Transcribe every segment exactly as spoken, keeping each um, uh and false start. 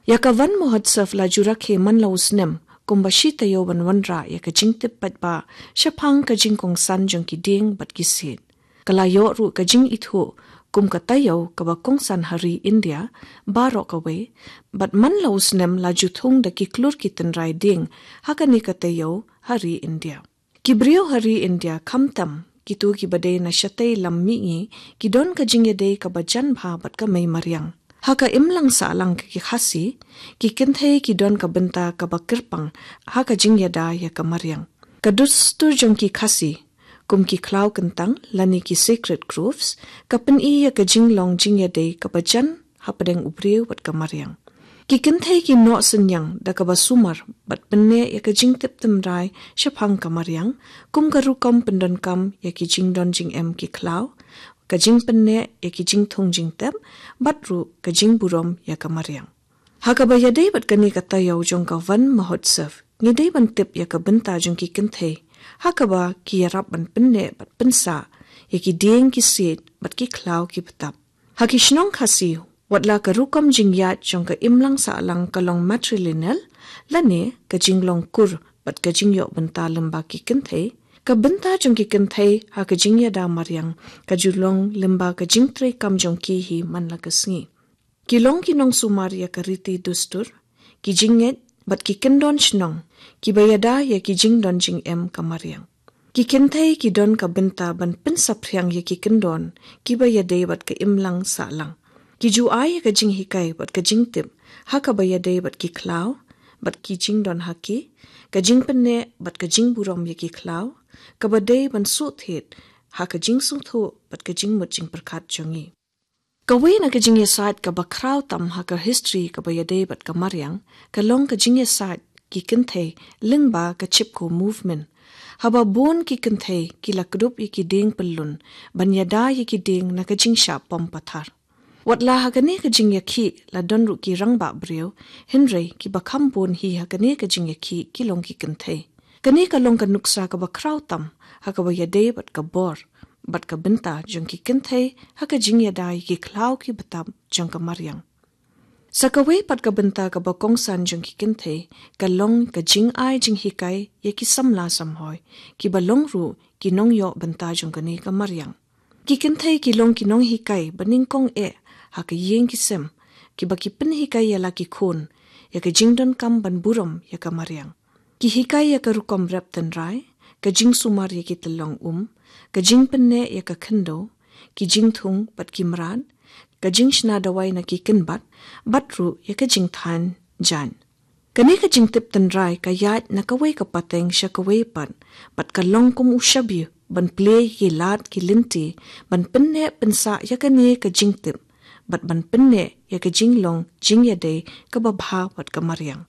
Ïa ka Van Mahotsav la ju rakhe man la u snem, kumba shi taïew ban wanrah ïa ka jingtip paidbah shaphang ka jingkongsan jong ki dieng bad ki siej. Ka la ïoh ruh ka jingithuh kum ka taïew kaba kongsan ha ri India baroh kawei, bad man la u snem la ju thung da ki klur ki tynrai dieng ha kane ka taïew ha ri India. Ki briew ha ri India, khamtam kito kiba dei na shatei lam mihngi, ki don ka jingïadei kaba jan bha bad ka mei mariang. Ha ka imlang sahlang ka ki Khasi, ki kynthei ki don ka bynta kaba kyrpang ha ka jingïada ïa ka mariang. Ka dustur jong ki Khasi, kum ki khlaw kyntang lane ki sacred groves, ka pyni ïa ka jinglong jingïadei kaba jan hapdeng u briew bad ka mariang. Ki kynthei ki noh synñiang da kaba sumar bad pynneh ïa ka jingtip tynrai shaphang ka mariang, kum ka rukom pyndonkam ïa ki jingdon jingem ki khlaw, ka jingpynneh ïa ki jingthung jingtep, bad ruh ka jingburom ïa ka mariang. Ha kaba ïadei bad kane ka taïew jong ka Van Mahotsav, ngi dei ban tip ïa ka bynta jong ki kynthei ha kaba ki ïarap ban pynneh bad pynsah ïa ki dieng ki siej bad ki khlaw ki btap. Ha ki shnong Khasi, wat la ka rukom jingïaid jong ka imlang sahlang ka long matrilineal, lane ka jinglong kur bad ka jingïoh bynta lyngba ki kynthei, ka bynta jong ki kynthei ha ka jingïada mariang ka ju long lyngba ka jingtreikam jong ki hi man la ka sngi. Ki long ki nongsumar ïa ka riti dustur, ki jingngeit bad ki kyndon shnong kiba ïada ïa ki jingdon jingem ka mariang. Ki kynthei ki don ka bynta ban pynsaphriang ïa ki kyndon kiba ïadei bad ka imlang sahlang. Ki ju ai ïa ka jinghikai bad ka jingtip ha kaba ïadei bad ki khlaw bad ki jingdon ha ki, ka jingpynneh bad ka jingburom ïa ki khlaw, kaba dei ban shu thied ha ka jingsngewthuh bad ka jingmut jingpyrkhat jong ngi. Kawei na ka jingïasaid kaba khraw tam ha ka history kaba ïadei bad ka mariang ka long ka jingïasaid ki kynthei lyngba ka Chipko movement, haba bun ki kynthei ki la kdup ïa ki dieng pyllun ban ïada ïa ki dieng na ka jingshah pom pathar. Wat la ha kane ka jingïakhih la don ruh ki rangbah briew, hynrei kiba kham bun hi ha kane ka jingïakhih ki long ki kynthei. Kane ka long ka nuksa kaba khraw tam ha kaba ïadei bad ka bor bad ka bynta jong ki kynthei ha ka jingïada ïa ki khlaw ki btap jong ka mariang. Sa kawei pat ka bynta kaba kongsan jong ki kynthei ka long ka jingai jinghikai ïa ki samla samhoi, kiba long ruh ki nongïoh bynta jong kane ka mariang. Ki kynthei ki long ki nonghikai ba nyngkong eh ha ka ïing ki sem, kiba ki pynhikai ïa la ki khun ïa ka jingdonkam ban burom ïa ka mariang. Ki hikai ïa ka rukom rep tynrai, ka jingsumar ïa ki tyllong um, ka jingpynneh ïa ka khyndew, ki jingthung bad ki mrad, ka jingshna dawai na ki kynbat, bad ruh ïa ka jingthan jaiñ. Kane ka jingtip tynrai ka ïaid na kawei ka pateng sha kawei pat, bad ka long kum u shabi ban plie ïa ki lad ki lynti ban pynneh pynsah ïa kane ka jingtip, bad ban pynneh ïa ka jinglong jingïadei kaba bha bad ka mariang.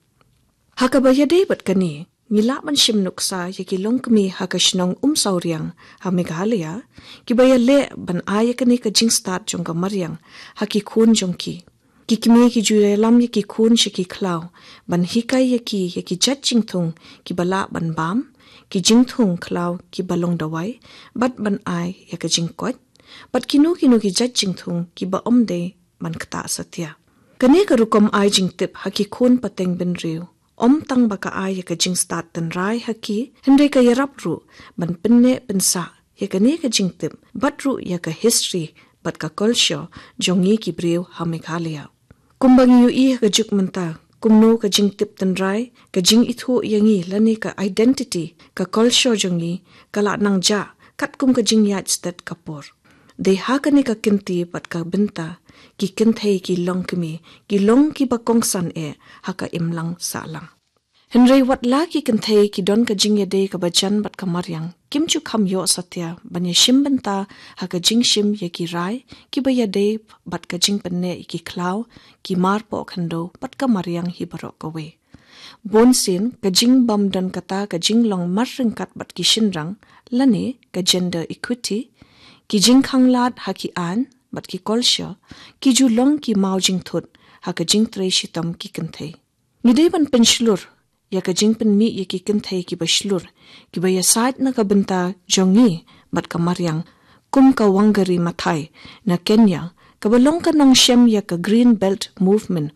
Ha kaba ïadei bad kane, ngi lah ban shim nuksa ïa ki longkmie ha ka shnong Umsawriang ha Meghalaya, kiba ïaleh ban ai ïa kane ka jingstad jong ka mariang ha ki khun jong ki. Ki kmie ki ju ïalam ïa ki khun sha ki khlaw ban hikai ïa ki ïa ki jait jingthung kiba lah ban bam, ki jingthung khlaw kiba long dawai, bad ban ai ïa ka jingkoit, bad kino kino ki jait jingthung kiba ym dei ban ktah satia. Kane ka rukom ai jingtip ha ki khun pateng bynriew ym tang ba ka ai ïa ka jingstad tynrai ha ki, hynrei ka ïarap ruh ban pynneh pynsah ïa kane ka jingtip bad ruh ïa ka history bad ka culture jong ngi ki briew ha Meghalaya. Kumba ngi ïohi ha ka juk mynta, kumno ka jingtip tynrai, ka jingithuh ïa ngi lane ka identity, ka culture jong ngi ka la nang jah katkum ka jingïaid stet ka por. Dei ha kane ka kynti bad ka bynta, ki kynthei ki longkmie ki long kiba kongsan eh ha ka imlang sahlang. Hynrei wat la ki kynthei ki don ka jingïadei kaba jan bad ka mariang, kim ju kham ïoh satia ban ïashim bynta ha ka jingshim ïa ki rai kiba ïadei bad ka jingpynneh ïa ki khlaw, ki mar poh khyndew bad ka mariang hi baroh kawei. Bun sien ka jingbym don kata ka jinglong mar ryngkat bad ki shynrang, lane ka gender equity, ki jingkhanglad ha ki aiñ bad ki culture, ki ju long ki maw jingthut ha ka jingtrei shitom ki kynthei. Ngi dei ban pynshlur ïa ka jingpynmih ïa ki kynthei kiba shlur, kiba ïasaid na ka bynta jong ngi bad ka mariang, kum ka Wangari Maathai na Kenya, kaba long ka nongshem ïa ka Green Belt Movement,